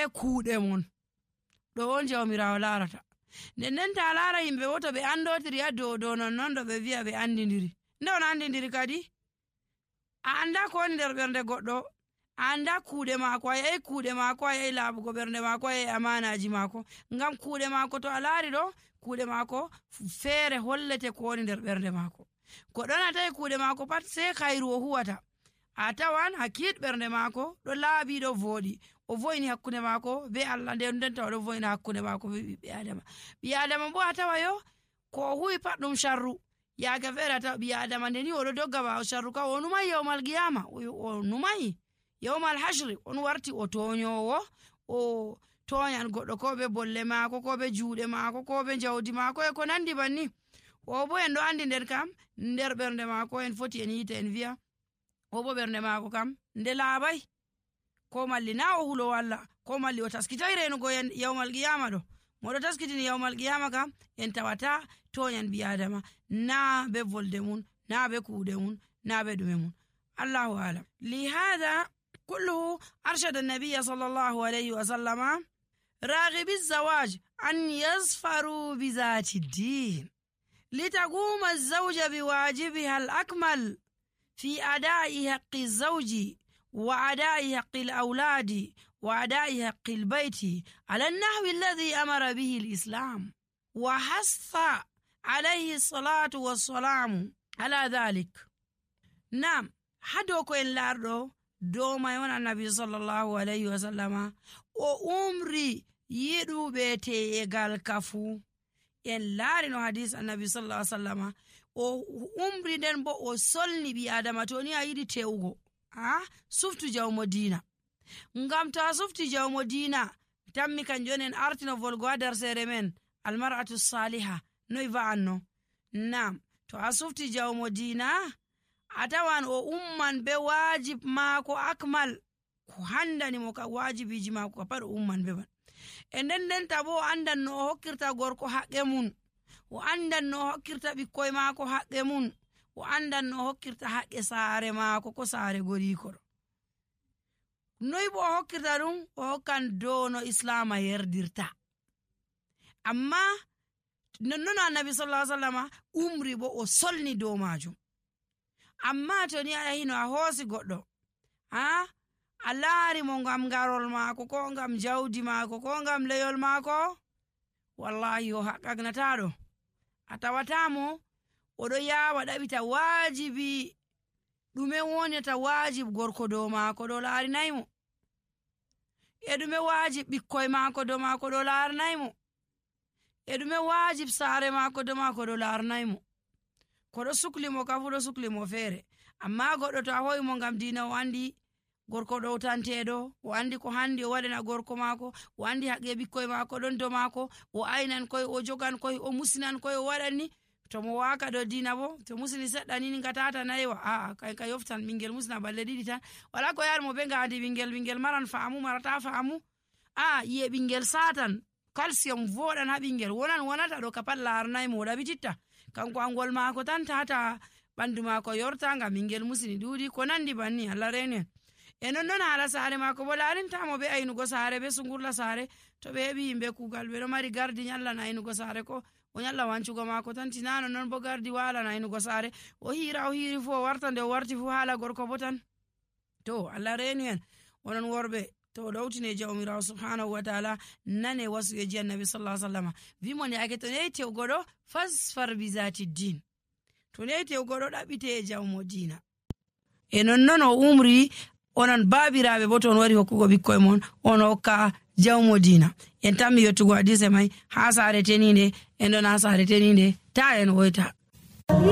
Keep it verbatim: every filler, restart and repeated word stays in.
kuuɗe mon. Ɗo on jawmirawo larata. nden nden ta lara yimɓe wo to ɓe andotiri ha dow dow non non ɗo ɓe wi'a ɓe andidiri. nde on andidiri kadi a anda ko woni nder ɓernde goɗɗo, a anda kuuɗe maako, a yahi kuuɗe maako, a yahi laaɓugo ɓernde maako, a yahi amanaji maako. ngam kuuɗe maako to a laari ɗo kuuɗe maako feere hollete ko woni nder ɓernde maako. goɗɗo na tawi kuuɗe maako pat sei kayru o huwata, a tawan hakkit ɓernde maako ɗo laaɓi ɗo vooɗi, o vo'ini hakkunde maako be Allah, nden nden taw ɗo vo'ina hakkunde maako be ɓiɓɓe adama. ɓi adama bo a tawa yo ko o huwi pat ɗum sharru. yaaga feere a tawa ɓi adama nde ni oɗo dogga ɓaawo sharru ka, o numai yawmal qiyama, o numai yawmal hashri, on warti o toñowo, o toñan goɗɗo ko be bolle maako, ko be juuɗe maako, ko be jawdi maako e ko nandi banni. o bo en ɗo andi nder kam nder ɓernde maako en foti en yita en wi'a o bo ɓernde maako kam nde laaɓai, ko malli na o hulo walla, ko malli o taskitai renugo yawmal qiyama ɗo. moɗo taskitini yawmal qiyama kam en tawata toñan ɓi adama, na be volde mun, na be kuuɗe mun, na be ɗume mun. allahu alam. lihada kulluhu arshada nabiya sallallahu alayhi wa sallama راغب الزواج أن يظفروا بذات الدين لتقوم الزوجة بواجبها الأكمل في أداء حق الزوج وأداء حق الأولاد وأداء حق البيت على النحو الذي أمر به الإسلام وحث عليه الصلاة والسلام على ذلك. نعم حدوكو إن لاردو دوما يون النبي صلى الله عليه وسلم o umri yiɗuɓe teyegal kafu. en laari no hadis annabi sallallahu alaihi wasallama o umri nden bo o solni ɓi adama to ni a yiɗi tewugo ha suftu jawmo dina. ngam to a sufti jawmo dina tammi kanjum en artino volgo ha darsere men almar'atu saliha noy va'anno. nam to a sufti jawmo dina a tawan o umman be wajib maako akmal, ko handani mo ka wajibiji maako ka pat o umman be man. e nden nden ta bo o andan no o hokkirta gorko haqqe mun, o andan no o hokkirta ɓikkoy maako haqqe mun, o andan no o hokkirta haqqe saare maako ko saare gorikoro. noy bo o hokkirta ɗum? o hokkan dow no islama yerdirta. amma nonnon annabi sallallahu alaihi wasallama umri bo o solni dow majum. amma to ni a yahi no a hoosi goɗɗo ha a laari mo ngam garol maako, ko ngam jawdi maako, ko ngam leyol maako, wallahi o haqqagnataɗo. a tawatamo oɗo yawa ɗaɓita waajibi ɗume wonata waajib gorko dow maako ɗo laarinaymo, e ɗume waajib ɓikkoy maako dow maako ɗo laaranaymo, e ɗume waajib saare maako dow maako ɗo laaranaymo. ko ɗo suklimo ka fu ɗo suklimo feere. amma goɗɗo to a hoyi mo ngam diina o andi gorko ɗowtanteɗo, o andi ko handi o waɗana gorko maako, o andi haqqe ɓikkoy maako ɗon do maako, o aynan koye, o jogan koye, o musinan koye, o waɗanni. to mo waka ɗo diina bo to musini seɗɗa nini ngatata nayiwa aa kay ka yoftan ɓingel musina balle ɗiɗi tan, wala ko yar mo be ngadi ɓingel ɓingel maran faamu marata faamu. a yiye ɓingel satan calcium voɗan ha ɓingel wonan wonata ɗo ka pat larnaymo o ɗaɓititta kanko angol maako tan tata ɓandu maako yorta ngam ɓingel musini ɗuuɗi ko nandi banni. Allah renen. e non non haala saare maako bo laarintamo be aynugo saare be sungurla saare. to ɓe heɓi yimɓe kuugal ɓe ɗo mari gardi nyallan aynugo saare, ko o nyalla wancugo maako tan tinano non bo gardi walan aynugo saare. o hira o hiri fu o warta nde o warti fu haala gorko bo tan. to Allah reni en onon worɓe to o ɗowtine jawmirawo subhanahu wa taala nane wasuyeji annabi sallallahu alaihi wasallam wimo nde ake to neyi tewgo ɗo fasfar bizati din, to neyi tewgo ɗo ɗaɓɓite e jawmo dina. e non non o umri onon baabiraɓe bo to on wari hokkugo ɓikkoye mon on hokka jawmo dina. en tammi yettugo hadise may ha saare teninde en ɗon ha saare teninde ta en woyta.